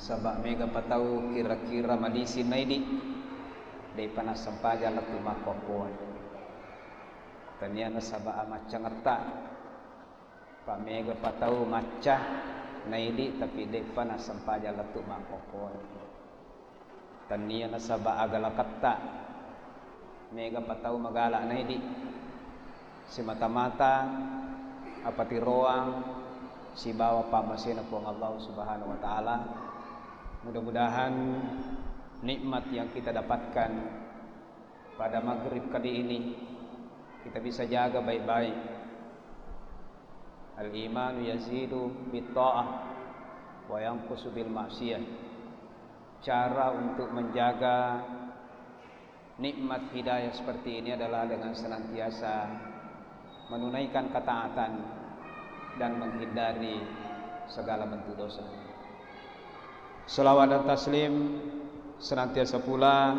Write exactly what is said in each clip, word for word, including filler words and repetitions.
Saba' mega pa tau kira-kira malisi naidi, de'pa nassempajang lettu makkokkoe. Tania nasaba' amaccangetta, pa mega pa tau macca naidi, tapi de'pa nassempajang lettu makkokkoe. Tania nasaba' agalaketta, mega pa tau magala naidi, simata-mata apatiroang sibawa pammasena Puang Allah Subhanahu wa Ta'ala. Mudah-mudahan nikmat yang kita dapatkan pada maghrib kali ini kita bisa jaga baik-baik. Al-imanu yazidu bit ta'ah wa yanqusu bil ma'siyah. Cara untuk menjaga nikmat hidayah seperti ini adalah dengan senantiasa menunaikan ketaatan dan menghindari segala bentuk dosa. Salawat dan taslim senantiasa pula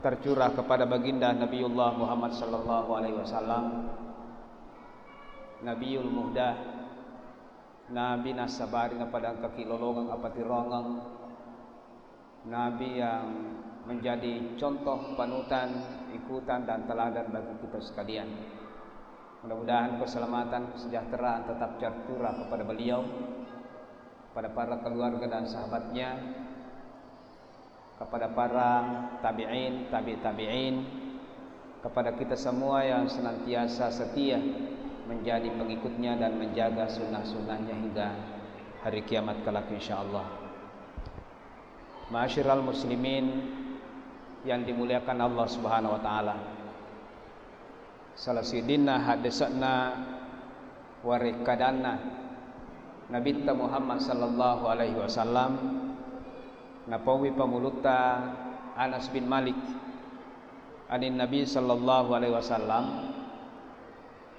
tercurah kepada baginda Nabiullah Muhammad sallallahu alaihi wasallam, Nabiul Muhdah, Nabi nassabari napada engkaki lolongeng apatiroangeng, Nabi yang menjadi contoh panutan, ikutan, dan teladan bagi kita sekalian. Mudah-mudahan keselamatan, kesejahteraan tetap tercurah kepada beliau, pada para keluarga dan sahabatnya, kepada para tabi'in, tabi' tabi'in, kepada kita semua yang senantiasa setia menjadi pengikutnya dan menjaga sunnah-sunnahnya hingga hari kiamat kelak, insyaallah. Ma'asyiral muslimin yang dimuliakan Allah Subhanahu wa Ta'ala, sala siddinna haddese'na warekkadanna Nabitta Muhammad sallallahu alaihi wasallam, napauwi pamulutta Anas bin Malik, anin Nabi sallallahu alaihi wasallam,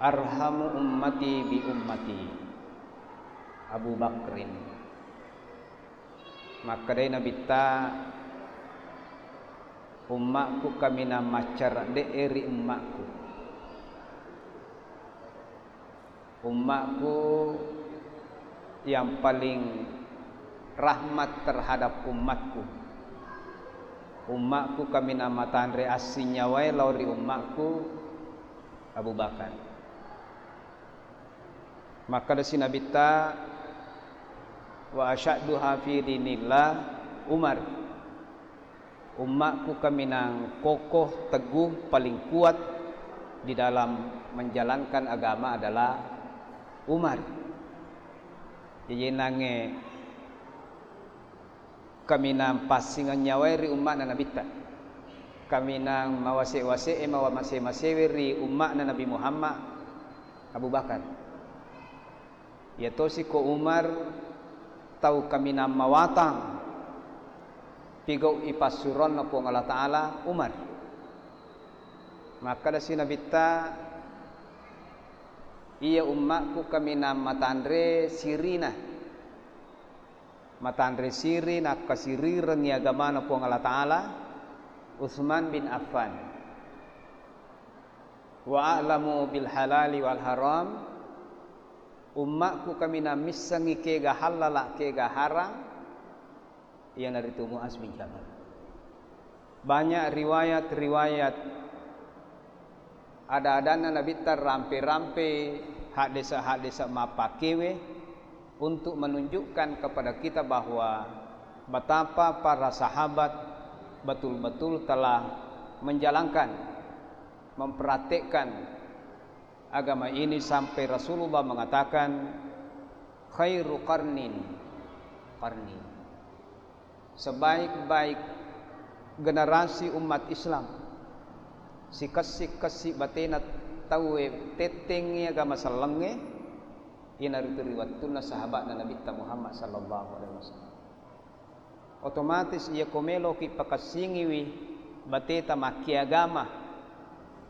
"Arhamu ummati bi ummati Abu Bakrin." Makkedai Nabitta, "Ummakku kaminang maccaredde'e ri ummakku. Ummakku yang paling rahmat terhadap ummakku. Ummakku kaminang matanre assinyawae lao ri ummakku, Abu Bakar." Makkedasi Nabitta, "Wa asyadduha fi dinillah Umar." Ummakku kaminang kokoh, teguh, paling kuat di dalam menjalankan agama adalah Umar. Jaji nangnge kaminang passingeng nyawae ri umma'na Nabitta. Kaminang mawase-wase'e, mawamase-masewe ri umma'na Nabi Muhammad, Abu Bakar. Iyatosi ko Umar, tau kaminang mawatang pigau ipassuronna Puang Allah Ta'ala, Umar. Makkedasi Nabitta, "Iya ummakku kaminang matanre sirina." Matanre siri nakkasirirengngi agamana Puang Allah Ta'ala, Utsman bin Affan. "Wa a'lamu bil halali wal haram," ummakku kaminang missengngi kega hallala, kega harang, iyanaritu Muaz bin Jabal. Banyak riwayat-riwayat ada-adanna Nabitta rampe-rampe, haddesa-haddesa mappakewe untuk menunjukkan kepada kita bahwa betapa para sahabat betul-betul telah menjalankan, mempraktekkan agama ini sampai Rasulullah mengatakan, "Khairu qarnin qarni." Sebaik-baik generasi umat Islam, sikessi-kessi batena tauwe tettengngi agama sellengnge, iyanaritu ri wettunna sahabatna Nabitta Muhammad sallallahu alaihi wasallam. Otomatis iyako meloki pakessingiwi bateta makkiagama,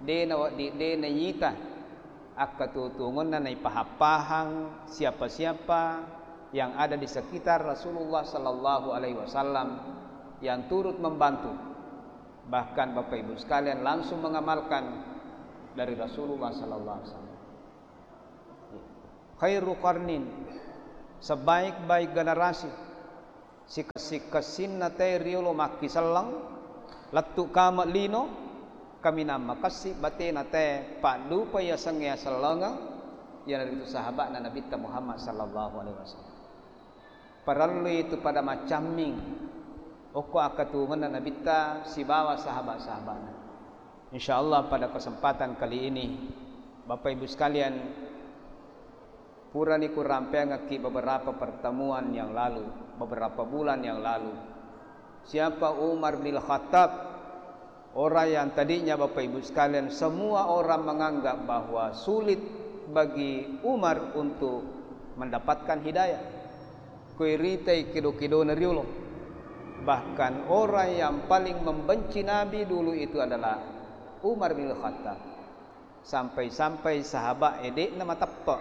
de nawedding, de naita akkatuo-tuongonna naipahang-pahang siapa-siapa yang ada di sekitar Rasulullah sallallahu alaihi wasallam yang turut membantu. Bahkan Bapak Ibu sekalian langsung mengamalkan dari Rasulullah sallallahu alaihi wasallam. Khairu qarnin, sebaik-baik generasi. Sikessi-kessinna tae riolo makkiselleng, lettu kame lino, kaminang makessi batena tae paddupai yasengnge asellengeng, iyanaritu sahaba'na Nabitta Muhammad sallallahu alaihi wasallam. Parellui tu pada maccamming okko akkatuwongenna Nabitta sibawa sahabat-sahabatna. Insya Allah pada kesempatan kali ini, Bapak Ibu sekalian, purani kurampeangekki beberapa pertemuan yang lalu, beberapa bulan yang lalu. Siapa Umar bin Khattab? Orang yang tadinya, Bapak Ibu sekalian, semua orang menganggap bahwa sulit bagi Umar untuk mendapatkan hidayah. Kuiritai kedo-kedona riolo. Bahkan orang yang paling membenci Nabi dulu itu adalah Umar bin Khattab. Sampai-sampai sahabat e de'na mateppe.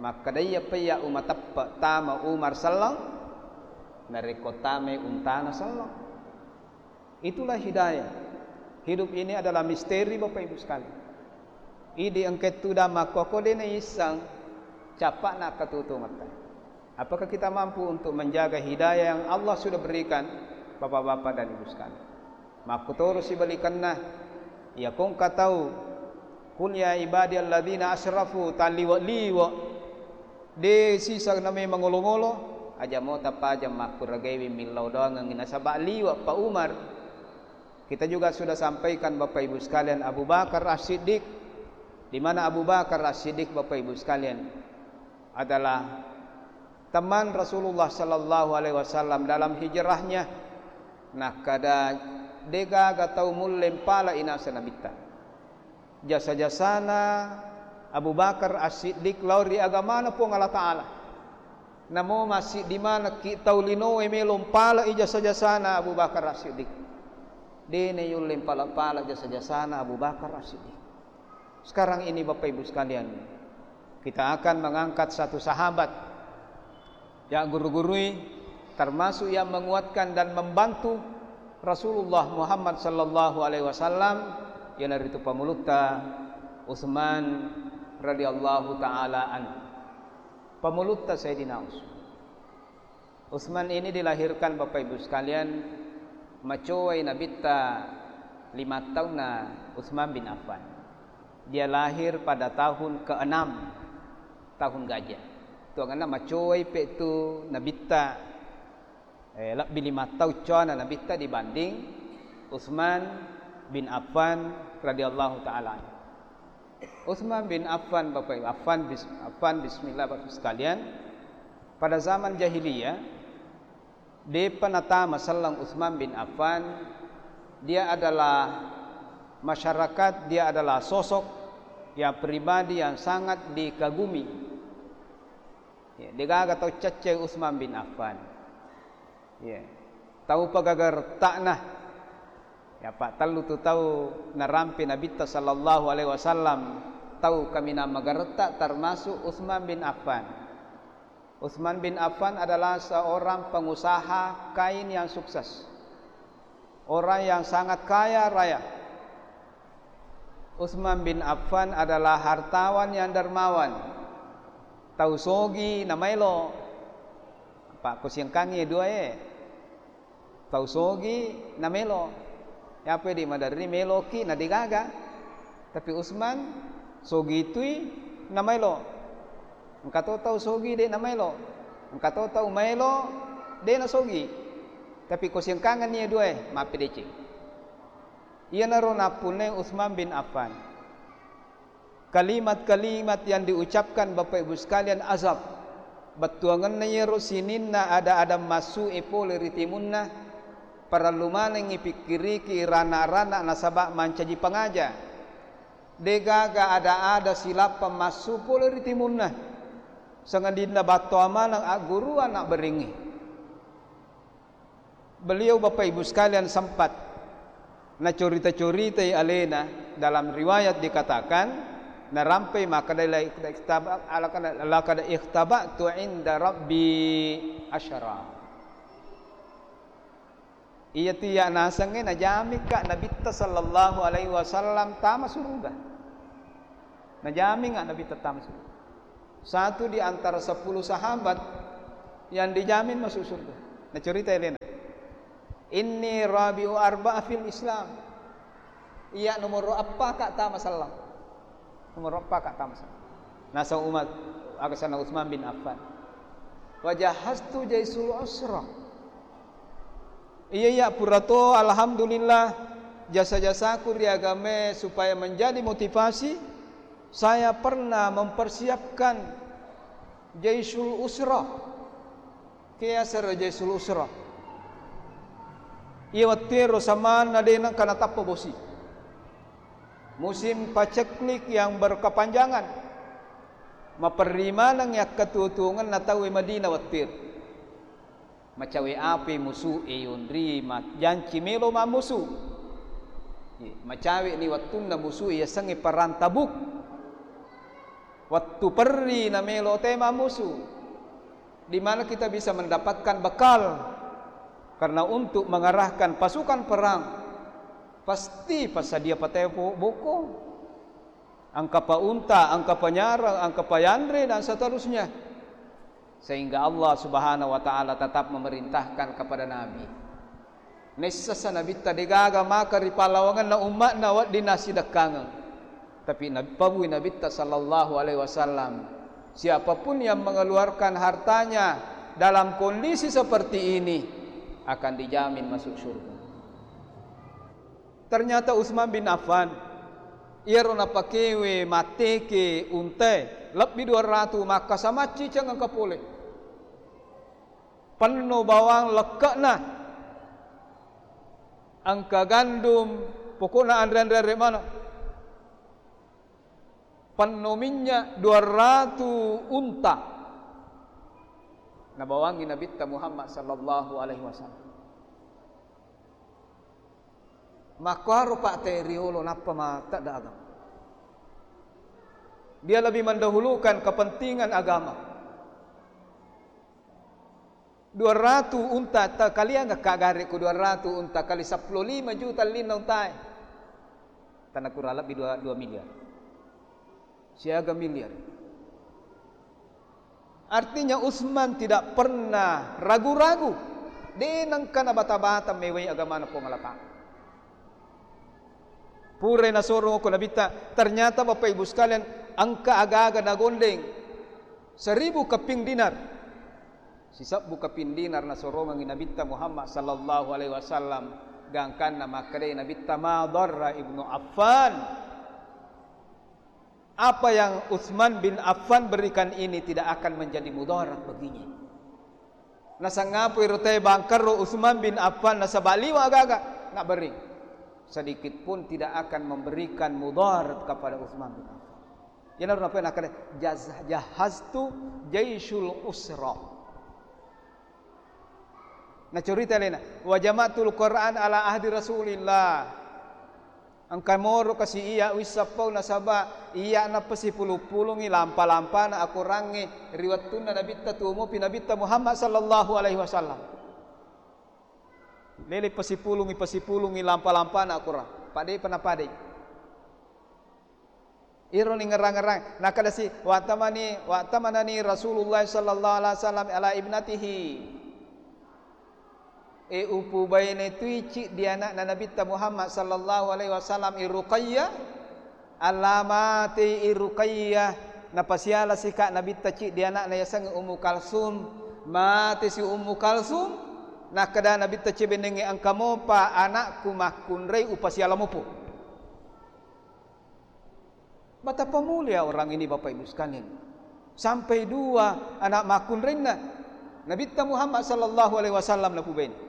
Makkeda, "Iyapa iya umateppe tama Umar selleng, narekko tamai untana selleng." Itulah hidayah. Hidup ini adalah misteri, Bapak Ibu sekalian. Idi engka tudang makkoko de naisseng cappa'na akkatutungetta. Apakah kita mampu untuk menjaga hidayah yang Allah sudah berikan, Bapak-bapak dan Ibu sekalian? Makkutoro sibalikanna, iya kongka tau, "Qul ya ibadiyalladzina asrafu", talliwe-liwe, de sisa name mangolo-ngolo, aja mo tapajang makkuragaiwi millau doangengngi nasaba liwe pa Umar. Kita juga sudah sampaikan, Bapak Ibu sekalian, Abu Bakar As-Siddiq. Di mana Abu Bakar As-Siddiq, Bapak Ibu sekalian, adalah teman Rasulullah sallallahu alaihi wasallam dalam hijrahnya. Nakkeda, degaga tau mulle mpala inasa Nabitta. Jasa-jasana Abu Bakar As-Siddiq lao ri agamana Puang Allah Ta'ala. Namo massiddi manekki tau linoe melo mpalai jasa-jasana Abu Bakar As-Siddiq. De nayulle mpala-pala jasa-jasana Abu Bakar As-Siddiq. Sekarang ini, Bapak Ibu sekalian, kita akan mengangkat satu sahabat yang guru-gurui, termasuk yang menguatkan dan membantu Rasulullah Muhammad sallallahu alaihi wasallam, iyanaritu pamulutta Utsman radhiyallahu ta'ala anhu. Pamulutta Sayyidina Utsman. Utsman ini dilahirkan, Bapak Ibu sekalian, macowai Nabitta lima taunna Utsman bin Affan. Dia lahir pada tahun keenam, tahun gajah. Tuangenna macowai pe tu Nabitta, eh, lebbi lima taung coana Nabitta dibanding Utsman bin Affan radhiyallahu ta'ala anhu. Utsman bin Affan, Bapak Ibu, Affan, bis-, Affan, bismillah, Bapak Ibu sekalian. Pada zaman jahiliyah, depa natama selleng Utsman bin Affan, dia adalah masyarakat, dia adalah sosok yang pribadi yang sangat dikagumi. Ya, degaga tau caccai Utsman bin Affan. Ya. Tau pagaga retta'na. Ya, pa tellu tu tau narampe Nabitta sallallahu alaihi wasallam, tau kaminang magaretta, termasuk Utsman bin Affan. Utsman bin Affan adalah seorang pengusaha kain yang sukses. Orang yang sangat kaya raya. Utsman bin Affan adalah hartawan yang dermawan. Tau sogi namaelo. Pa kusiangkangi dua e. Tau sogi namelo. Yape di maderri meloki na degaga. Tapi Utsman sogi tui namaelo. Engka to tau sogi de namaelo. Engka to tau maelo de nasogi. Tapi ko siangkangenni dua e, mappedeceng. Iyanaro nappunnai Utsman bin Affan. Kalimat-kalimat yang diucapkan, Bapak Ibu sekalian, azab. Bettuangenna iyaro sininna ada-ada massu'e pole ri timunna, parellu manengngi pikkiriki rana-rana nasaba mancaji pangaja. Degaga ada-ada silappa massu pole ri timunna, sangadinna battoa maneng agguru ana berengnge. Beliau, Bapak Ibu sekalian, sempat nacorita-coritai alena. Dalam riwayat dikatakan, narampai makkeda, "La ikhtab-, laqad, laqad ikhtaba'tu inda Rabbi asyara." Iyatu iya nasengnge najamikka Nabitta sallallahu alaihi wasallam tama suruga. Najaminga Nabitta tama suruga. Satu di antara sepuluh sahabat yang dijamin masuk surga. Cerita elena. Inni rabi'u arba'a fil Islam. Iya nomoro eppa ka tama sellang. Nomoro eppa ka tama sellang. Naseng Umar, aga sana Utsman bin Affan. Wa jahaztu jaisul usra. Iya, iya, pura to, alhamdulillah, jasa-jasaku ri agamae supaya menjadi motivasi, saya pernah mempersiapkan jaisul usra. Kiyasara jaisul usra. Iya wettuero samanna de nengka natappa bosi. Musim paceklik yang berkepanjangan. Maperri maneng yakkatuo-tuongenna tauwe Madinah wettuero. Macawe api musu'e yonri ma-, janci melo mammusu. Ye, macawe ni wettunna musu'e yasengnge perang Tabuk. Wettu perri na melo te mammusu. Di mana kita bisa mendapatkan bekal? Karena untuk mengarahkan pasukan perang, pasti passadia patai po-, boko, engka pa unta, engka pa nyarang, engka pa yanre, dan seterusnya. Sehingga Allah Subhanahu wa Ta'ala tetap memerintahkan kepada Nabi. Naissessa Nabitta degaga maka ri pallawangenna ummatna wedding nassidekkangeng. Tapi Nab-, pabui Nabitta sallallahu alaihi wasallam, siapapun yang mengeluarkan hartanya dalam kondisi seperti ini akan dijamin masuk surga. Ternyata Utsman bin Affan, iyaro napakewe matteke untae, lebbi dua ratu, makkasa macciceng engka pole. Penno bawang lekke'na, engka gandum, pokokna anre-anre-anre maneng. Penno minnya dua ratu unta nabawangi Nabitta Muhammad sallallahu alaihi wasallam. Makkuaro Pak te riolo nappa matedda agama. Dia lebih mendahulukan kepentingan agama. Dua ratu unta, ta-, kaliang ka gare ku dua ratu unta kali seppulo lima juta ellinna untae. Tanakura lebbi dua, dua miliar. Siaga miliar. Artinya Utsman tidak pernah ragu-ragu. De nengka nabata-bata mewai agamana Puang Allah Ta'ala. Purai nasorong ko Nabitta, ternyata Bapak Ibu sekalian, engka aga-aga nagondeng seribu keping dinar. Sisebbu keping dinar nasorongengi Nabitta Muhammad sallallahu alaihi wasallam, gangkanna makkedai Nabitta, "Ma dharra Ibnu Affan." Apa yang Utsman bin Affan berikan ini tidak akan menjadi mudarat baginya. Nasangapui ro te bangkerro Utsman bin Affan nasaba liwa agaga, nabberring. Sedikit pun tidak akan memberikan mudarat kepada Utsman bin Affan. Iyanaro napau nakkeda, "Jaz-, jahaztu jaisyul usra." Nacorita alena, "Wa jama'tul Qur'an ala ahdi Rasulillah." Engka moro kasi iya wisseng pau nasaba iya napasipulung-pulungi lampa-lampana akorangnge ri wettunna Nabitta tuo mopi Nabitta Muhammad sallallahu alaihi wasallam. Lele pasipulungi, pasipulungi lampa-lampana akorang. Padai pa napadai. Iro ni ngerang-ngerang. Nakkeda si, "Wa'tamani, wa'tamanani Rasulullah sallallahu alaihi wasallam ala ibnatihi." E, upubaine tui ciddi anakna Nabitta Muhammad sallallahu alaihi wasallam, i Ruqayyah. Alla matei i Ruqayyah, napasiala sika Nabitta ciddi anakna yasengnge Ummu Kalsum. Mate si Ummu Kalsum, nakkeda Nabitta cebennengnge, "Engka mopa anakku makkunrai upasiala mopo." Betapa mulia orang ini, Bapak Ibu sekalian. Sampai dua anak makkunrainna Nabitta Muhammad sallallahu alaihi wasallam napubaini.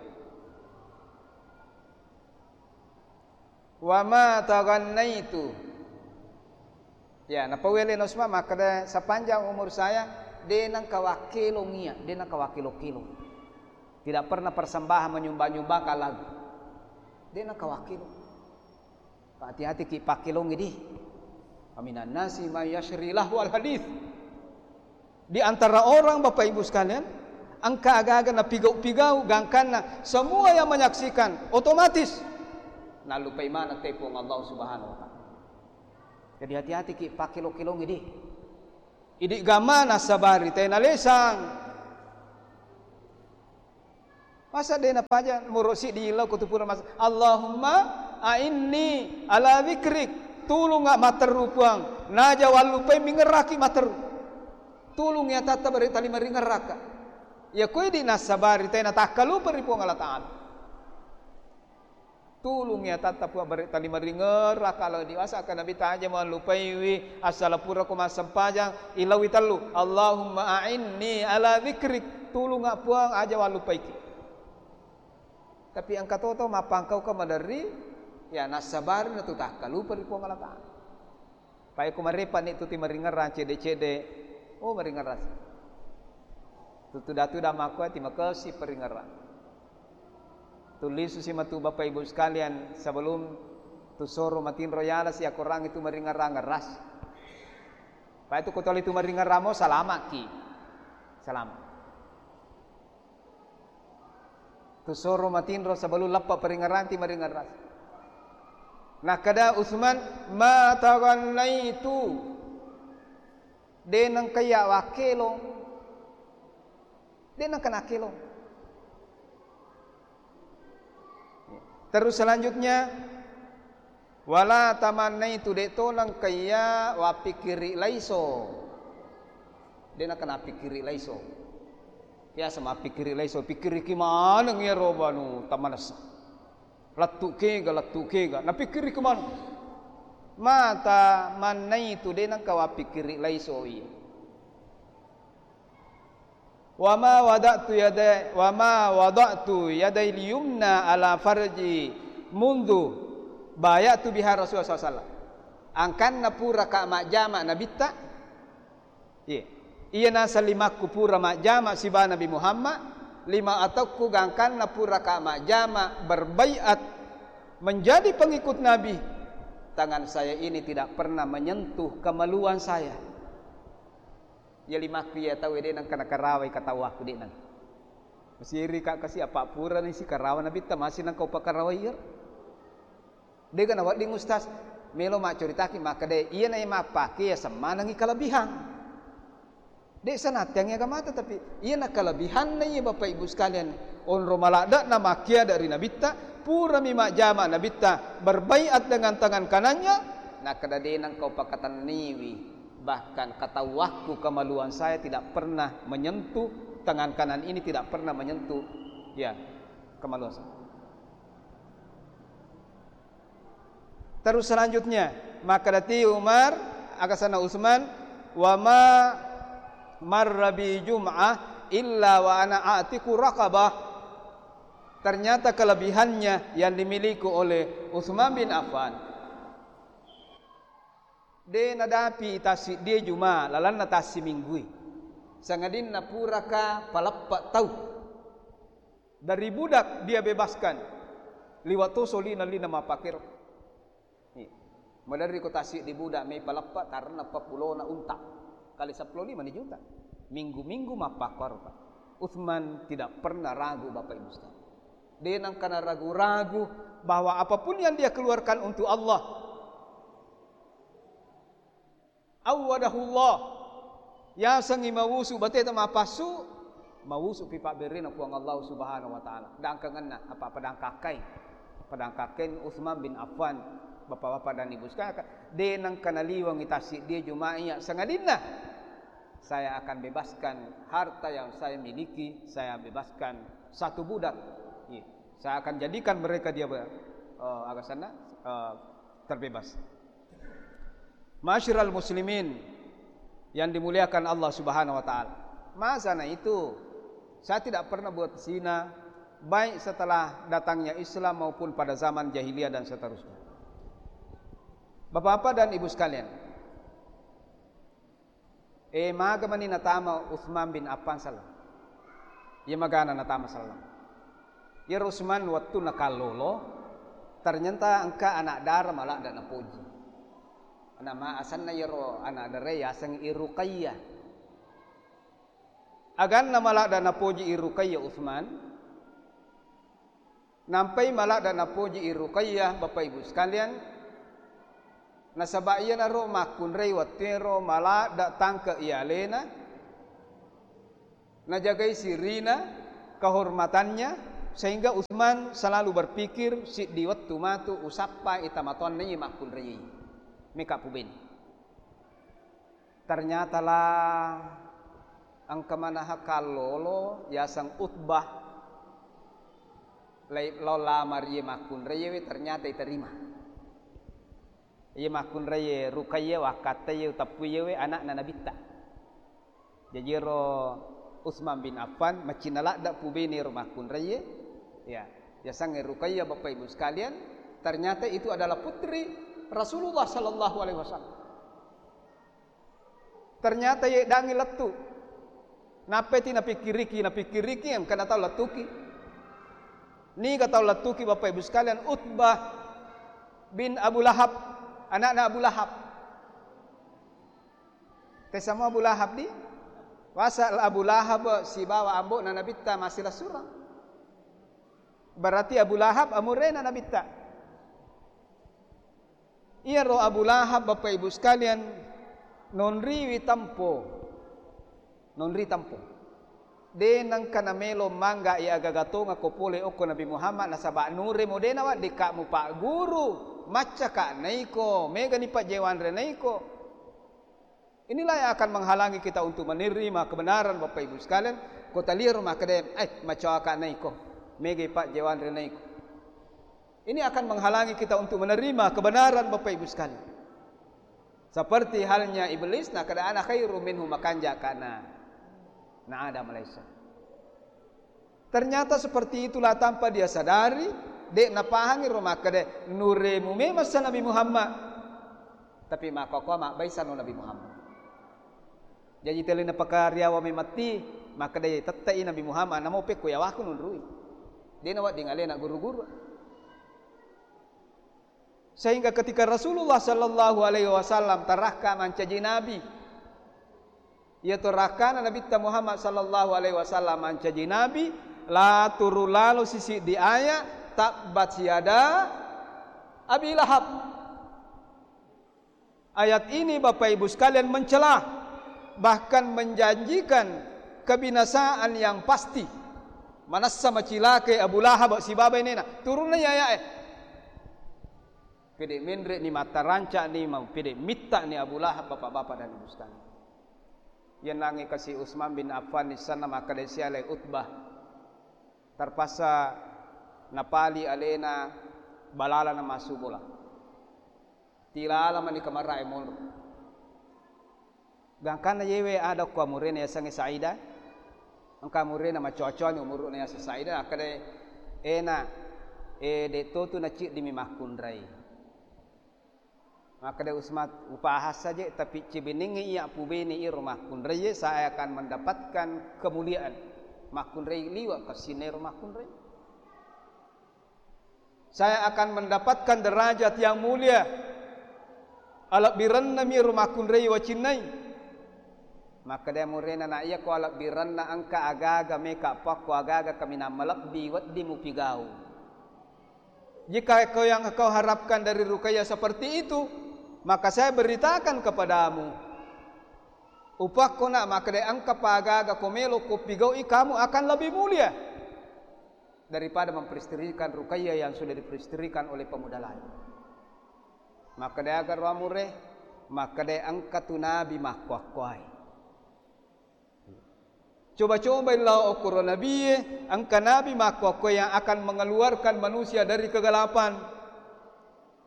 "Wa ma taghannaitu." Ya, napauwele Usman makkeda, "Sepanjang umur saya, de nengka wakkelong iya, de nengka wakkelong-kelong. Tidak pernah persembahan menyumbang-nyumbangkan lagu. De nengka wakkelong." Hati-hati ki pakkelongi di. Aminan nasi may yashri lahwal hadith. Di antara orang, Bapak Ibu sekalian, engka aga-aga napigau-pigau gangkanna, semua yang menyaksikan otomatis nallupai maneng te Puang Allah Subhanahu wa Ta'ala. Jadi hati-hati ki pakkelong-kelongi di. Idi gamana sabari te nalesang. Masa de' napaja muro siddi lao ko tu pura mas-, Allahumma a'inni ala dzikrik, tulunga matteru Puang, naja wallupai mingerraki matteru. Tulungi atatta bare tali maringerraka. Iya ko idi nassabari tena takkalupa ri Puang Allah Ta'ala. Tulungi atatta Puang bare tali maringerraka lao diwasa ka Nabi taja mallupaiwi, assala pura ko massempajang, ilawi tellu, Allahumma a'inni ala dzikrik, tulunga Puang aja wallupaiki. Tapi engka toto mappangkauka maderri, ya nassabari natu takkalupa ri Puang Allah Ta'ala. Pai ko marepa ni tu ti maringerrang cedde-cedde, oh maringerrang. Tu tuda-tuda makko ti makesi paringerrang. Tulisu si matu Bapak Ibu sekalian, sebelum tu soro matinro yala si akorang itu maringerrang ngeras. Pai tu ko toli tu maringerrang mo salamaki. Salam. Tu soro matinro sebelum leppa paringerrang ti maringerrang. Nakkeda Utsman, "Ma taghannaitu." De' nengka iya wakkelong. De' nengka nakkelong. Terus selanjutnya, wala tamannaitu, de' to nengka iya wappikkiri laiso. De' nengka nappikkiri laiso. Biasa mappikkiri laiso, pikkiriki maneng iyaro banu tamanessa. Lettu kega, lettu kega, napikkiriki maneng. Ma tamannaitu, de' nengka wappikkiri laiso iya. Wa ma wada'tu yada-, wa ma wada'tu yadai liyumna ala farji mundu bayatu biha Rasulullah sallallahu alaihi wasallam. Angkanna puraka majjama Nabitta, iya. Iya naseng limakku pura majjama siba Nabi Muhammad, lima ataukku gangkanna puraka majjama berbaiat menjadi pengikut Nabi, tangan saya ini tidak pernah menyentuh kemaluan saya. Iya limakku iya tau de' nengka nakarawai katawakku de' nengka. Masiri ka kasi apa purani si karawa Nabitta masih nengka upakarawai iyaro. Dega nawedding ustaz, melo maccoritaki makkeda, iyana iya mappake iya semmanengi kalebihan. De' sanattiangi agamata, tapi iyana kalebihanna iya Bapak Ibu sekalian, onro maladde'na makkiada ri Nabitta, purami majjama Nabitta, berbaiat dengan tangan kanannya, nakkeda de' nengka upakatenniwi, bahkan katawakku kemaluan saya tidak pernah menyentuh, tangan kanan ini tidak pernah menyentuh, ya, kemaluan saya. Terus selanjutnya, makkedati Umar, aga asenna Utsman, "Wa ma marra bi jum'ah illa wa ana a'tiqu raqabah." Ternyata kelebihannya yang dimiliki oleh Utsman bin Affan, de' nadapi tassiddie juma lalanna tassiminggué, sangadinna puraka paleppe' tau. Dari budak dia bebaskan. Liwa' to solina lina mappakero. Iya. Maderri ko tassiddi budak mai paleppe' karena peppulona unta. Kali seppulo lima ni juta. Minggu-minggu mappakkoro, Pak. Utsman tidak pernah ragu, Bapak Ibu sekalian. De' nengka naragu-ragu bahwa apapun yang dia keluarkan untuk Allah, awwadahullah. Yasengngi mawusu bateta mapassu, mawusu pi pabberrena Puang Allah Subhanahu wa Ta'ala. Dangkangenna apa padangkakkai. Padangkakkai Utsman bin Affan, Bapak-bapak dan Ibu sekalian, de' nengka naliwengngi tassiddie juma iya sangadinna saya akan bebaskan harta yang saya miliki, saya bebaskan satu budak. Iya. Saya akan jadikan mereka dia ber-, eh, aga asenna, eh, terbebas. Ma'asyiral muslimin yang dimuliakan Allah Subhanahu wa Ta'ala. Masa na itu, saya tidak pernah buat zina, baik setelah datangnya Islam maupun pada zaman jahiliyah dan seterusnya. Bapak-bapak dan Ibu sekalian, eh, maga mani natama Utsman bin Affan selleng? Iya magana natama selleng. Iyaro Utsman wettunna kallolo, ternyata engka anak dara maladde' napoji. Nama asenna iyaro anak darae yaseng I Ruqayyah. Aganna maladde' napoji I Ruqayyah Utsman, nampai maladde' napoji I Ruqayyah, Bapak Ibu sekalian, nasaba' iyanaro makkunrai wettuero maladde' tangke' i alena, najagai sirina, kehormatannya, Sehingga Utsman selalu berpikir, "Siddi wettu matu usappai tamatoanna iye makkunraiye." Meka pubene. Ternyata la engka manaha kallolo yaseng Utbah lai-, lao lamar iye makkunraiye we, ternyata iterima. Iye makkunraiye Ruqayyah, wakkatta iye uteppu iye we anakna Nabitta. Jaji ero Utsman bin Affan macinna ladde pubene ero makkunraiye, ya, yasengnge Ruqayyah, Bapak Ibu sekalian, ternyata itu adalah putri Rasulullah sallallahu alaihi wasallam. Ternyata yeddangi lettu. Nappai ti napikkiriki, napikkiriki engka natau lettuki. Niga tau lettuki, Bapak Ibu sekalian? Utbah bin Abu Lahab, anakna Abu Lahab. Tessamo Abu Lahab di? Wasal Abu Lahab sibawa ambo'na Nabitta massilessureng. Berarti Abu Lahab amurena Nabitta. Iyaro Abu Lahab, Bapak Ibu sekalian, nonriwi tempo. Nonri tempo. De nengka namelo mangga i agaga tongako pole okko Nabi Muhammad, nasaba nuremo de naweddikka mupagguru, maccaka naiko, megani pajjewanre naiko. Inilah yang akan menghalangi kita untuk menerima kebenaran, Bapak Ibu sekalian. Ko taliaro makkeda, "Eh, macoaka naiko, megai pajjewanre naiko." Ini akan menghalangi kita untuk menerima kebenaran, Bapak Ibu sekalian. Seperti halnya iblis, nakkeda, "Ana khairum minhu," makanja kana na Adam alaihissalam. Ternyata seperti itulah tanpa dia sadari, de napahangi ro makkeda, "Nuremu memang sa Nabi Muhammad." Tapi makkokkoe mabbaisano Nabi Muhammad. Jaji teli napakariawa mematti, makkeda tette'i Nabi Muhammad, namo pekko yawaku nunrui. De nawedding alena guru-guru. Sehingga ketika Rasulullah sallallahu alaihi wasallam tarakka mancaji nabi, iya to rakkana Nabitta Muhammad sallallahu alaihi wasallam mancaji nabi, la turu lalo sisiddi aya, tabbat yada Abi Lahab. Ayat ini, Bapak Ibu sekalian, mencela, bahkan menjanjikan kebinasaan yang pasti. Manessa macilakai Abu Lahab sibawa bainena. Turunna ayae. Pede menre ni, mataranca ni, mau pede mitta ni Abu Lahab, Bapak-bapak dan Ibu sekalian. Yennangnge kasi Utsman bin Affan nissenna makkeda sialai Utbah. Terpaksa napali alena balala na massu bola. Tilala mani kamara'e monro. Gangkanna yewe ada ko amurena yasengnge Saida. Engka amurena macoa-coani umuru'na yaseng Saida, akkeda, "Ena, e, de totu naciddimi makkunrai." Makkeda Utsman, "Upahang saja, tapi cibenengngi iya pubene iro makkunraiye, saya akan mendapatkan kemuliaan." Makkunrai liwa kassinna iro makkunrai. Saya akan mendapatkan derajat yang mulia. Alebbirenna mi ro makkunrai wacinnai. Makkeda murena, "Na iya ko alebbirenna engka agaga meka pakko agaga kaminang malebbi wedding mupigau. Jika kau yang kau harapkan dari Ruqayyah seperti itu, maka saya beritakan kepadamu. Upakko nak makkeda engka pa agaga ko melo ko pigaui, kamu akan lebih mulia daripada memperisterikan Ruqayyah yang sudah diperisterikan oleh pemuda lain." Makkeda aga ro amure, makkeda engka tu nabi makkuakkuai. Coba-cobai lao okkoro nabie, engka nabi makkuakkuai yang akan mengeluarkan manusia dari kegelapan.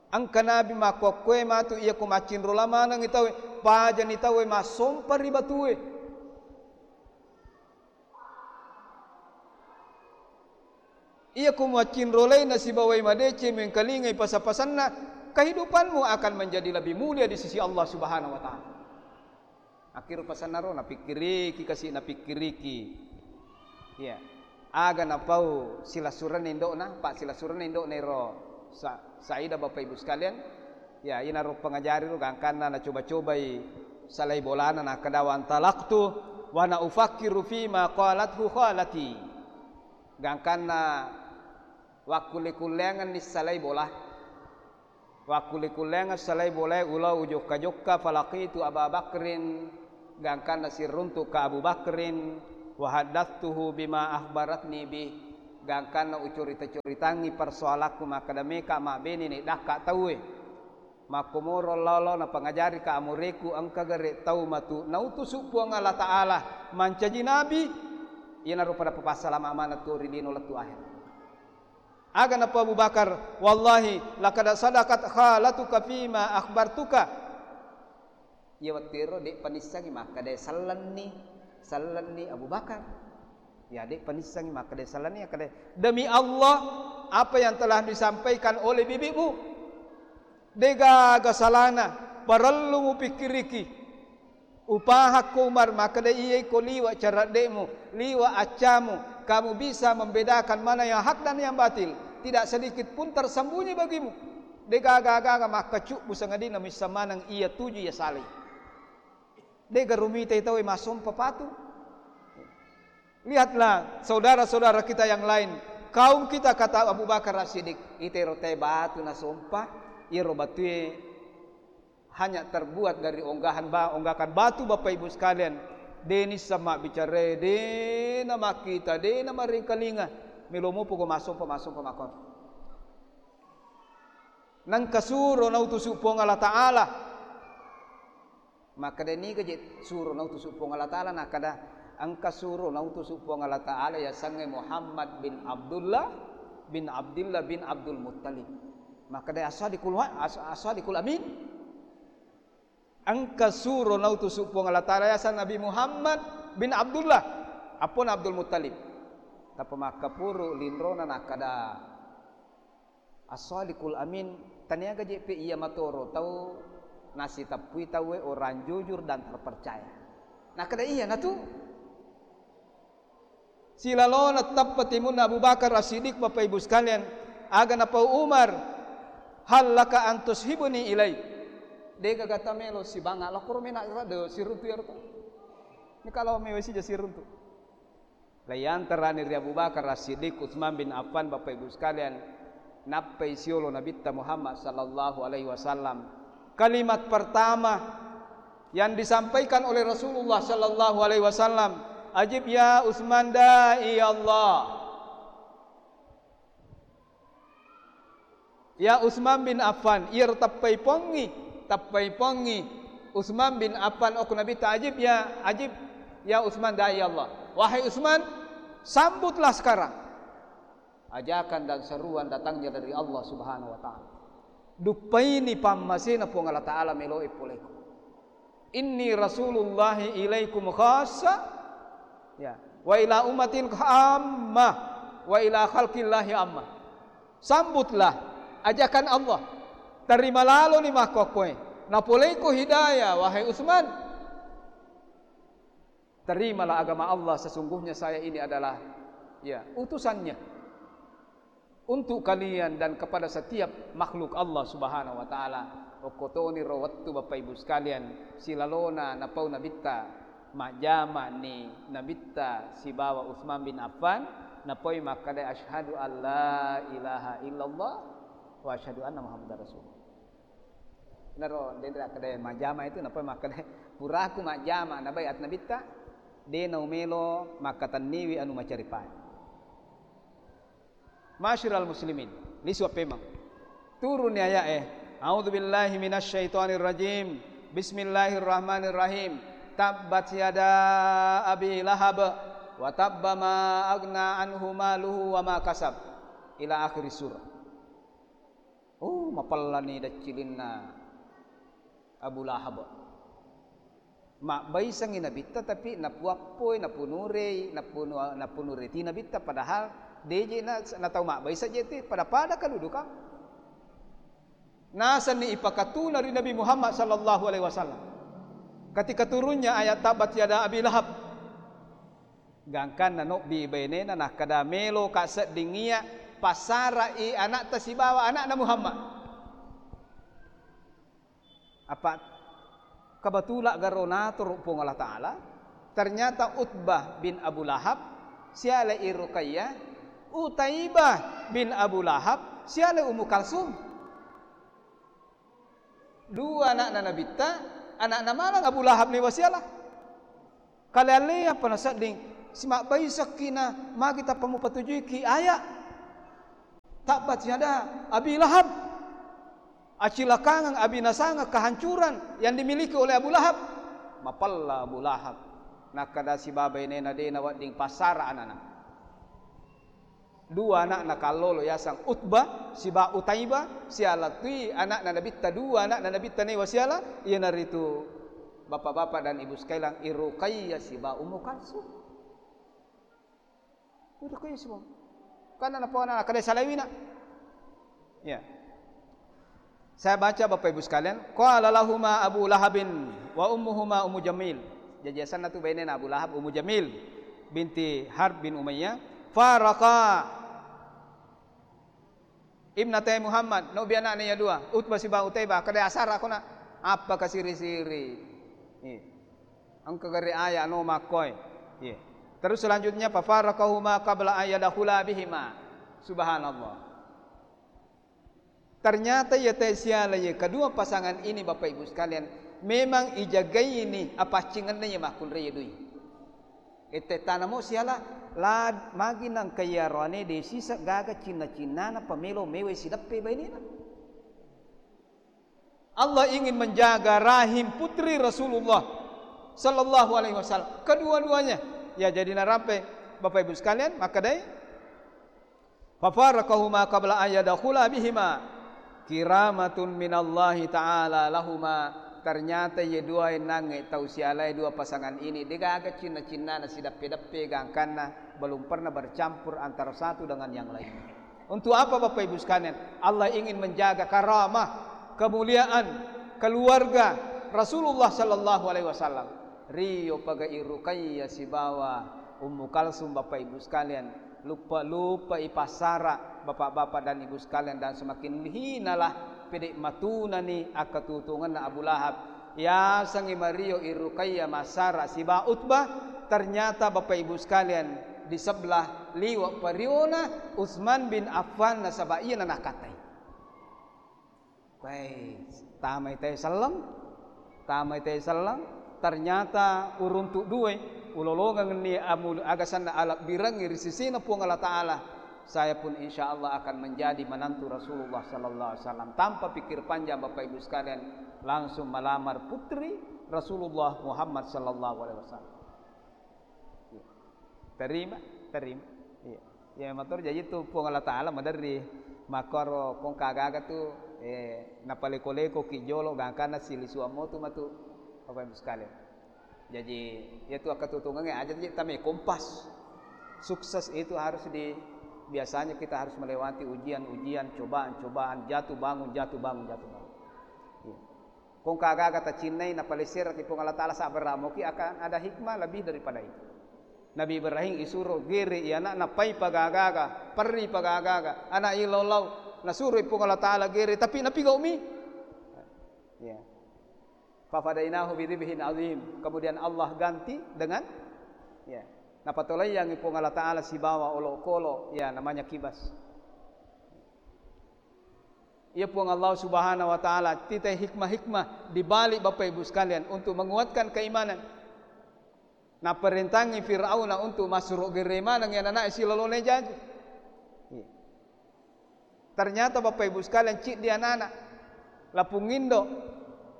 Engka nabi makkuakkuai matu iya ko maccinro lamanengi tauwe, pajani tauwe massompa ri batue. Iya ko muaccinrolai nasibawai madeceng mengkalingai pasa-pasanna, kehidupanmu akan menjadi lebih mulia di sisi Allah Subhanahu wa Ta'ala. Akkiro pasanna ro, napikkiriki kasi, napikkiriki. Iya. Aga napau silessurenna indo'na, pa silessurenna indo'na ero Sa-, Saida, Bapak Ibu sekalian. Ya, inaro pengajari ro gangkanna nacoba-cobai salai bolana, nakkeda, "Wa antalaqtu wa ana ufakkiru fima qalathu khalati." Gangkanna wakkulle-kulleangenni salai bola. Wakkulle-kulleangeng salai bolae, ulao ujokka-jokka, falaqitu Aba Bakrin, gangkanna siruntu ka Abu Bakrin, wa haddatstuhu bima akhbaratni bih. Gangkanna ucorita-coritangngi persoalakku makkeda meka mabbene ni dakka tauwe. Makkomoro lolo napangajarika amoreku engka gare tau matu nautusu Puang Allah Ta'ala mancaji nabi, iyanaro pada papassalama maneng tu ri lino lettu akhir. Aga napau Abu Bakar, "Wallahi laqad sadaqat khalatuka fima akhbartuka." Iya wettuero de' panissengi makkeda sellenni, sellenni Abu Bakar. Ya, de' panissengi makkeda sellenni, akkeda, "Demi Allah, apa yang telah disampaikan oleh bibimu, de'gaga salana, parellu mupikkiriki." Upahakko Umar, makkeda iyai ko liwa caradde'mu, liwa accamu, kamu bisa membedakan mana yang hak dan yang batil. Tidak sedikit pun tersembunyi bagimu. De'gaga-gaga makkacubbu sangadinna missa maneng iya tuju iya salai. De'ga rumitai tauwe massompa patu. Lihatlah saudara-saudara kita yang lain, kaum kita, kata Abu Bakar As-Siddiq, itero tae batu nasompa, iyaro batue hanya terbuat dari onggahan ba-, onggakan batu, Bapak Ibu sekalian, de' nisseng mabbicarae, de' namakkita, de' namarengkalinga, melo mopo ko massompa, massompa makkon. Nengka suro nautusu Puang Allah Ta'ala. Makkeda niga je suro nautusu Puang Allah Ta'ala, nakkeda engka suro nautusu Puang Allah Ta'ala yasengnge Muhammad bin Abdullah bin Abdullah bin Abdul Muttalib. Makkeda as-sadiqul wa-, as-, as-sadiqul amin. Engka suro nautusu Puang Allah Ta'ala yaseng Nabi Muhammad bin Abdullah, appona Abdul Muttalib. Tappa makkapuru linrona nakkeda, "As-sadiqul amin, taniaga je'pe iya matoro tau nasiteppui tauwe orang jujur dan terpercaya." Nakkeda, "Iya natu." Silalona teppa timunna Abu Bakar As-Siddiq, Bapak Ibu sekalian, aga napau Umar, "Hal laka an tushibuni ilai?" De'gaga tamelo sibanga lokoro mena rade siruntu iyaro to. Ini kalau mewe sija siruntu. Laiyantarani ri Abu Bakar As-Siddiq, Utsman bin Affan, Bapak Ibu sekalian, nappai siolo Nabitta Muhammad sallallahu alaihi wasallam. Kalimat pertama yang disampaikan oleh Rasulullah sallallahu alaihi wasallam, "Ajib ya Utsman da'i Allah." Ya Utsman bin Affan, iyaro tappai pongngi, tappai pongngi Utsman bin Affan, okko Nabitta, "Ajib ya, ajib ya Utsman da'i Allah." Wahai Utsman, sambutlah sekarang ajakan dan seruan datangnya dari Allah Subhanahu wa Ta'ala. Duppaini pammasena Puang Allah Ta'ala meloe poleko. "Inni rasulullahi ilaikum khassa, ya, wa ila ummatin ammah, wa ila khalqillahi ammah." Sambutlah ajakan Allah. Terima laloni makkokkoe. Napoleiko hidayah, wahai Utsman. Terimalah agama Allah, sesungguhnya saya ini adalah, ya, utusannya untuk kalian dan kepada setiap makhluk Allah Subhanahu wa Ta'ala. Okkotoniro wettu, Bapak Ibu sekalian, silalona napau Nabitta, majjama ni Nabitta sibawa Utsman bin Affan, napoi makkeda, "Asyhadu an la ilaha illallah wa asyhadu anna Muhammadar Rasulullah." Naro denre akkeda majjama itu, napoi makkeda, "Puraku majjama," nabai at Nabitta, "De naumelo makkatenniwi anu macaripai." Masyiral muslimin, lisu appemeng. Turunni aya'e, "A'udzu billahi minasyaitonir rajim. Bismillahirrahmanirrahim. Tabbat yada Abi Lahab wa tabba ma aghna anhu maluhu wa ma kasab." Ila akhir surah. Oh, mapellani deccilinna Abu Lahab. Mabbaisengngi Nabitta, tapi napuappoi, napunurei, napunu-, napunureti Nabitta, padahal deje na, na tau mabbaiseng je tu, pada-pada kedudukan. Nasenni ipakatuna ri Nabi Muhammad sallallahu alaihi wasallam. Ketika turunnya ayat tabbat yada Abi Lahab, gangkanna nobbi bainena, nakkeda, "Meloka sedding iya passarai anakta sibawa anakna Muhammad." Apa kebetulan garo natoro Puang Allah Ta'ala, ternyata Utbah bin Abu Lahab sialai Ruqayyah, Utaibah bin Abu Lahab sialai Ummu Kalsum. Dua anakna Nabitta, anakna maneng Abu Lahab ni wasiala. Kale-ale apa nasedding, Simabbaisakki na magi tappa mupatujuiki aya. Tabbat yada Abi Lahab. Acilakangeng, abinasangeng, kehancuran yang dimiliki oleh Abu Lahab. Mapella Abu Lahab. Nakkeda sibawa bainena de nawedding passara anana. Dua ana'na kallolo yaseng Utbah siba Utaibah, siala tui ana'na Nabitta, dua ana'na Nabitta newa siala, iyanaritu bapak-bapak dan ibu sekalian, I Ruqayyah siba Ummu Kalsum. I Ruqayyah siba. Karena napa ana kada salaiwina. Ya. Saya baca, Bapak Ibu sekalian, qala lahuma Abu Lahabin wa ummuhuma Ummu Jamil. Jaji asenna tu bainena Abu Lahab, Ummu Jamil binti Harb bin Umayyah. Faraqa ibnatai Muhammad, nobi anakna iya dua, Utbah siba Utaibah, kada asara kona, apa kasiri-siri. Iya. Engka gare aya no makkoi. Iya. Terus selanjutnya, fafaraqahuma qabla an yadkhula bihima. Subhanallah. Ternyata iya tae siala iya kedua pasangan ini, Bapak Ibu sekalian, memang ijagai ini apaccingenna iya makkunrai iya dui. Ette tanamo siala la magi nangka iya roane de sisa gaga cinna-cinnana pamelo mewai sideppe bainena. Allah ingin menjaga rahim putri Rasulullah sallallahu alaihi wasallam, kedua-duanya. Ya, jadi narampe Bapak Ibu sekalian, makkedai, fafaraqahuma qabla an yadkhula bihima kiramatun minallahi ta'ala lahuma. Ternyata ye dua enangnge tau sialae dua pasangan ini degaga cinna-cinnana sideppe-deppe gangkanna belum pernah bercampur antara satu dengan yang lain. Untuk apa, Bapak Ibu sekalian? Allah ingin menjaga karamah, kemuliaan keluarga Rasulullah sallallahu alaihi wasallam. Rio pagai Ruqayyah sibawa Ummu Kalsum, Bapak Ibu sekalian, lupa-lupa ipassara, Bapak-bapak dan Ibu sekalian, dan semakin hinalah pede matunani akkatutungenna Abu Lahab. Yasengngi mario i Ruqayyah massara siba Utbah, ternyata Bapak Ibu sekalian, di sebelah liwa periona Utsman bin Affan nasaba iyana nakkatai. Pai, tamai tai selleng, tamai tai selleng, ternyata uruntu due, ulolongenni amu-, agasanna alabbirengngi ri sisina Puang Allah Ta'ala. Saya pun insya Allah akan menjadi menantu Rasulullah sallallahu alaihi wasallam. Tanpa pikir panjang, Bapak Ibu sekalian, langsung melamar putri Rasulullah Muhammad sallallahu alaihi wasallam. Iya. Terima, terima. Iya. Ya, matur jaji tu Puang Allah Ta'ala maderri makkoro kongka gaga tu, eh, napaleko-leko ki jolo gangkanna silisuammo tu matu, Bapak Ibu sekalian. Jaji, iyatu akkatutungengnge aja ji tame kompas. Sukses itu harus di, biasanya kita harus melewati ujian-ujian, cobaan-cobaan, jatuh bangun, jatuh bangun, jatuh bangun. Iya. Kongka gaga tacinnai napalesseraki Puang Allah Ta'ala, sabbaramoki akan ada hikmah lebih daripada itu. Nabi Ibrahim isuro gere i anakna pai pagaga-gaga, perri pagaga-gaga, anak illau-lau, nasuro Puang Allah Ta'ala gere, tapi napigau mi. Ya. Fafadainahu bidzibhin azim. Kemudian Allah ganti dengan, ya, napatolaiyangi Puang Allah Ta'ala sibawa olokolo, ya, namanya kibas. Ya Puang Allah Subhanahu wa Ta'ala, titai hikmah-hikmah di balik Bapak Ibu sekalian untuk menguatkan keimanan. Naparentangi Fir'auna untuk masuro gere maneng ya anakna silalona jaji. Iya. Ternyata Bapak Ibu sekalian, ciddi anak-anak. Lapung indo,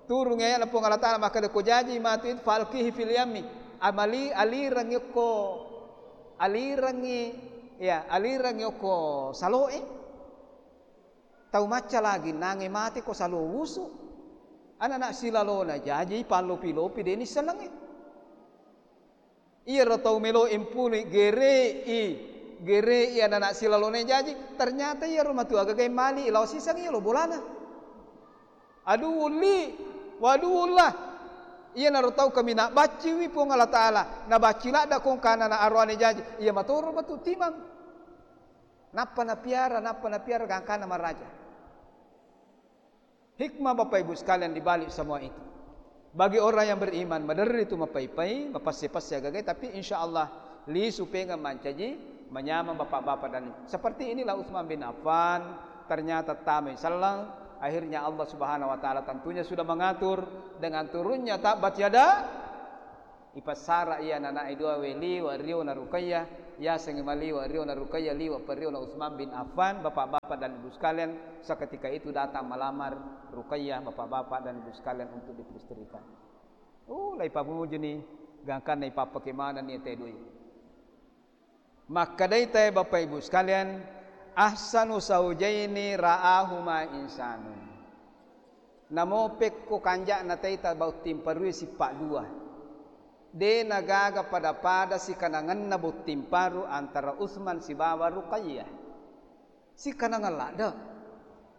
turung ayana Puang Allah Ta'ala, makkeda ko jaji matu itu, falqihi fil yammi. Amali, alirangi okko, alirangi, ya, alirangi okko saloe. Tau macca lagi nange mate ko salo wusu. Anak-anak silalona jaji, pallopi-lopi, deni senengi. Iyaro tau melo impuni gerei, gerei anak-anak silalona jaji, ternyata iyaro matu agaga mali lao siseng iyaro bolana. Aduwwul li, wa aduwwullah. Iyanaro tau kaminang bacciwi Puang Allah Ta'ala, nabacci ladda kongka anak-anak aroane jaji, iya matoro matu timang. Nappa napiara, nappa napiara gangkana maraja. Hikmah Bapak Ibu sekalian di balik semua itu. Bagi orang yang beriman, maderri tu mapai-pai, mapasse-passe agagai, tapi insya Allah lisu pengeng mancaji, manyameng bapak-bapak dan seperti inilah Utsman bin Affan, ternyata tamai selleng, akhirnya Allah Subhanahu wa Ta'ala tentunya sudah mengatur dengan turunnya tabbat yada Ipassara iya anana'e duawe liwa riona Ruqayyah, yasengngi maliwa riona Ruqayyah, liwa periona Utsman bin Affan, Bapak-bapak dan Ibu sekalian, seketika itu datang melamar Ruqayyah, Bapak-bapak dan Ibu sekalian, untuk diperisterikan. Oh, laipamujuni, gangkanna ipappake manenni tedoi. Makkedai tae, Bapak Ibu sekalian, "Ahsanu zaujaini ra'ahuma insanun." Namo pekko kanja'na taita botting parue sippa dua. De nagaga pada-pada sikanangenna botting paru antara Utsman sibawa Ruqayyah. Sikanangeng ladde.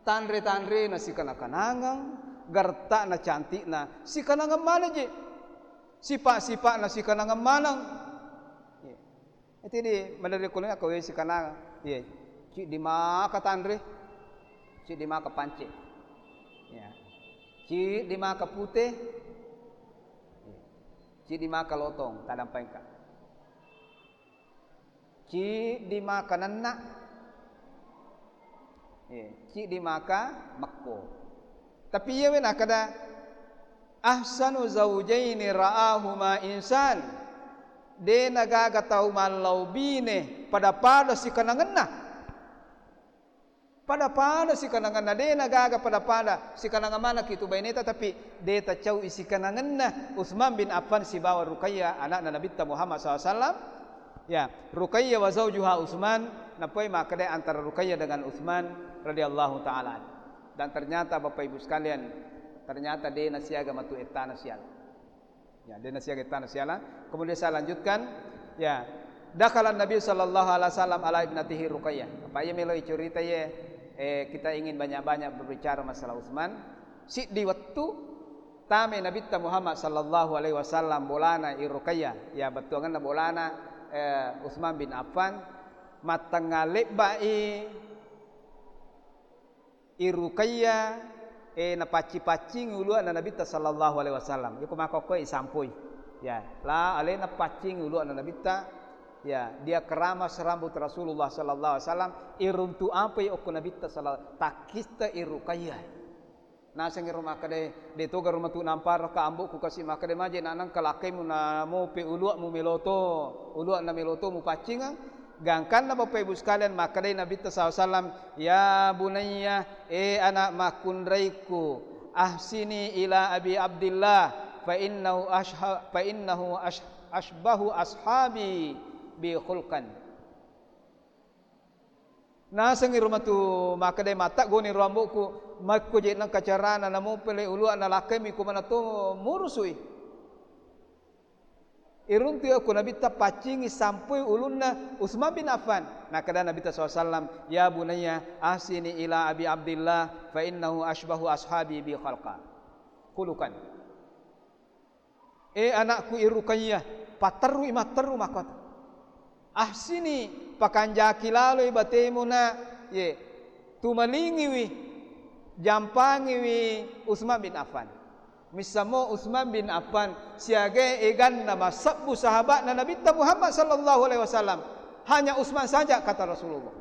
Tanre-tanrena sikanang-kanangeng, garetta'na cantikna sikanangeng maneng je. Sipa-sipa'na sikanangeng maneng. Iya. Eti di maderri kulina ko we sikanangeng. Iya. Ciddi maka tanre. Ciddi maka pance. Iya. Ciddi maka pute. Iya. Ciddi maka lotong, tadampengka. Ciddi maka nenna. Iya, ciddi maka mekko. Tapi iyawe nakkeda, "Ahsanu zaujaini ra'ahuma insan." De nagaga tau mallau bine pada-pada sikanangenna. Pada-pada sikanangenna, de nagaga pada-pada sikanangeng manekki tu baineta, tapi de tacau'i sikanangenna Utsman bin Affan sibawa Ruqayyah, anakna Nabitta Muhammad sallallahu alaihi wasallam. Ya, Ruqayyah wa zaujuha Utsman, napoi makkedai antara Ruqayyah dengan Utsman radhiyallahu ta'ala anhu. Dan ternyata, Bapak Ibu sekalian, ternyata de nasiaga matu ettana siala. Ya, de nasiaga ettana siala. Kemudian saya lanjutkan, ya. Dakhala Nabi sallallahu alaihi wasallam ala ibnatihi Ruqayyah. Apa iya melo icurita ye, eh, kita ingin banyak-banyak berbicara masalah Utsman. Siddi wettu tame Nabitta Muhammad sallallahu alaihi wasallam bolana i Ruqayyah, ya, bettuangenna bolana, eh, Utsman bin Affan, mattengnga lebba'i i Ruqayyah, eh, napacci-paccingi uluanna Nabitta sallallahu alaihi wasallam. Iko makkokkoe isampoi. Ya, la alena paccingi uluanna Nabitta, ya, dia keramas rambut Rasulullah sallallahu alaihi wasallam, iruntu apai okko Nabitta sallallahu, takkista i Ruqayyah. Nasengi ro makkeda, "De toga ro matu namparaka ambo'ku kasi makkeda maje na nengka lakkaimu na mope ulua'mu meloto, ulua'na meloto mupaccingeng." Gangkanna Bapak Ibu sekalian, makkedai Nabitta sallallahu alaihi wasallam, "Ya bunayya, eh anak makkunraiku, ahsini ila Abi Abdillah, fa innahu ashha-, fa innahu ash-, ashbahu ashabi bi khulqan." Nasengi ro matu makkedai, "Mattaggoni ro ambo'ku, makko je nengka carana namopele ulua'na lakkaimi kumana to murusui." Iruntui okko Nabitta paccingi sampui ulunna Utsman bin Affan. Nakkeda Nabitta sallallahu alaihi wasallam, "Ya bunayya, ahsini ila Abi Abdillah, fa innahu ashbahu ashabi bi khalqa, khuluqan." Eh anakku i Ruqayyah, patterui matteru makkota. Ahsini, pakanjaki laloi batemu na, ye, tumalingiwi, jampangiwi Utsman bin Affan. Missammo Utsman bin Affan siaga eganna massebbu sahabatna Nabitta Muhammad sallallahu alaihi wasallam. Hanya Utsman saja, kata Rasulullah.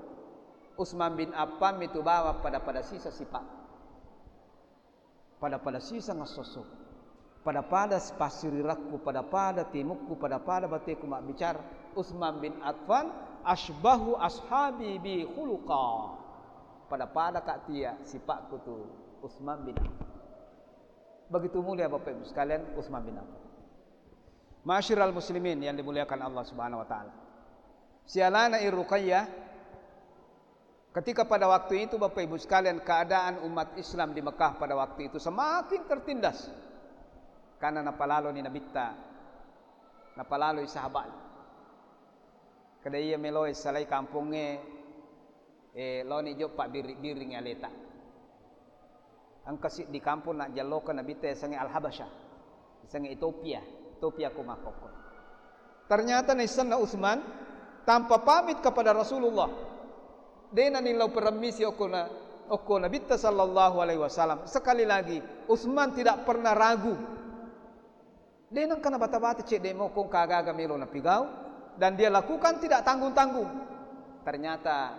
Utsman bin Affan mitu bawang pada-pada sisa sipa. Pada-pada siseng esso-esso. Pada-pada passirirakku, pada-pada timukku, pada-pada bateku mabbicara. Utsman bin Affan, "Asbahu ashabi bi khuluqa." Pada-pada kak tia sipakku tu Utsman bin Affan. Begitu mulia Bapak Ibu sekalian Utsman bin Affan. Ma'asyiral muslimin yang dimuliakan Allah Subhanahu wa taala. Sialana i Ruqayyah, ketika pada waktu itu, Bapak Ibu sekalian, keadaan umat Islam di Mekah pada waktu itu semakin tertindas. Karena napalaloni Nabitta, napalaloi sahabat. Kada iya meloe salai kampongnge, eh, loni joppa biri-biring aleta. Engka siddi kampong najjallokeng Nabitta yasengnge Al-Habasyah, yasengnge Ethiopia, Ethiopia ko makkokko. Ternyata naissenna Utsman tanpa pamit kepada Rasulullah. De nanillau peremmisi okko na-, okko Nabitta sallallahu alaihi wasallam. Sekali lagi, Utsman tidak pernah ragu. De nengka nabata-bata cedde mokko engka aga-aga melo napigau, dan dia lakukan tidak tanggung-tanggung. Ternyata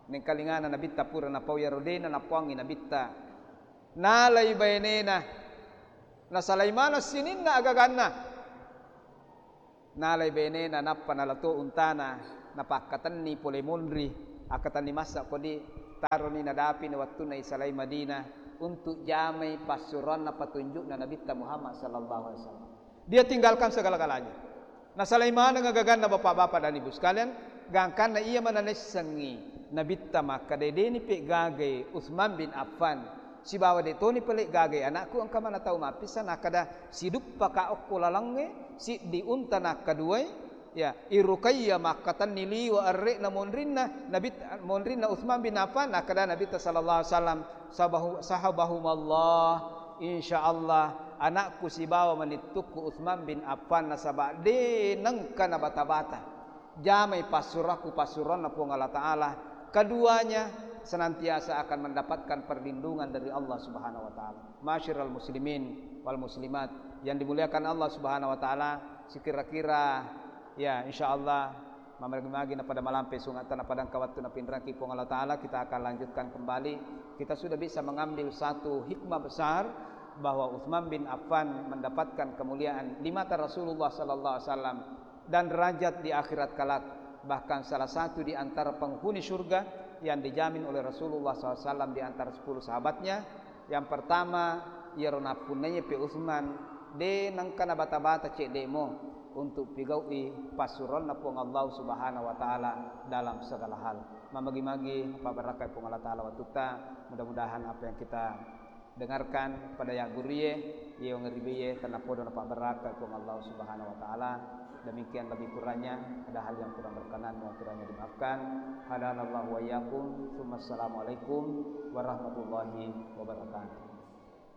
nengkalingana Nabitta pura napau iyaro de nanapoangngi Nabitta. Nalai bainena, nasalai maneng sininna agaganna. Nalai benena nappa nalato untana, napakkatenni pole monri, akkatenni massa kodi, taroni nadapini wettunna isalai Madinah untuk jamai passuroanna patunjukna Nabitta Muhammad sallallahu alaihi wasallam. Dia tinggalkan segala-galanya. Nasalai maneng agaganna bapak-bapak dan ibu sekalian, gangkanna iya mana naissengngi Nabitta makkeda, "Deni pe gagai Utsman bin Affan, sibawa de toni pale gagai anakku, engka mana tau mappissa nakkeda, siduppaka okko lalengnge, siddi unta nakkaduai, ya, i Ruqayyah makkatenni liwa erre'na monrinna Nabi, monrinna Utsman bin Affan," nakkeda Nabitta sallallahu alaihi wasallam, "Sabahu-, sahabahumallah, insyaallah anakku sibawa manittukku Utsman bin Affan nasaba de nengka nabata-bata jamai passurakku passuranna Puang Allah Ta'ala. Keduanya senantiasa akan mendapatkan perlindungan dari Allah Subhanahu wa Ta'ala." Masyiral muslimin wal muslimat yang dimuliakan Allah Subhanahu wa Ta'ala, sekira-kira, ya, insyaallah, mamagi-magi napada malampe sungatta napada engka wettu napinrengki Puang Allah Ta'ala, kita akan lanjutkan kembali. Kita sudah bisa mengambil satu hikmah besar bahwa Utsman bin Affan mendapatkan kemuliaan di mata Rasulullah sallallahu alaihi wasallam dan derajat di akhirat kelak. Bahkan salah satu di antara penghuni surga yang dijamin oleh Rasulullah sallallahu alaihi wasallam di antara sepuluh sahabatnya. Yang pertama, iyaro nappunnaiye pe Utsman, de nengka nabata-bata cedde'mo untuk pigau'i passuroanna Puang Allah Subhanahu wa Ta'ala dalam segala hal. Mamagi-magi pabbarakkai Puang Allah Ta'ala wattutta. Mudah-mudahan apa yang kita dengarkan pada yagguruye, ye wangeribiye, tennapodo napabbarakkai Puang Allah Subhanahu wa Ta'ala. Demikian lebih kurangnya, ada hal yang kurang berkenan, mohon kiranya dimaafkan. Hadanallahu wa iyyakum, tsumma assalamualaikum warahmatullahi wabarakatuh.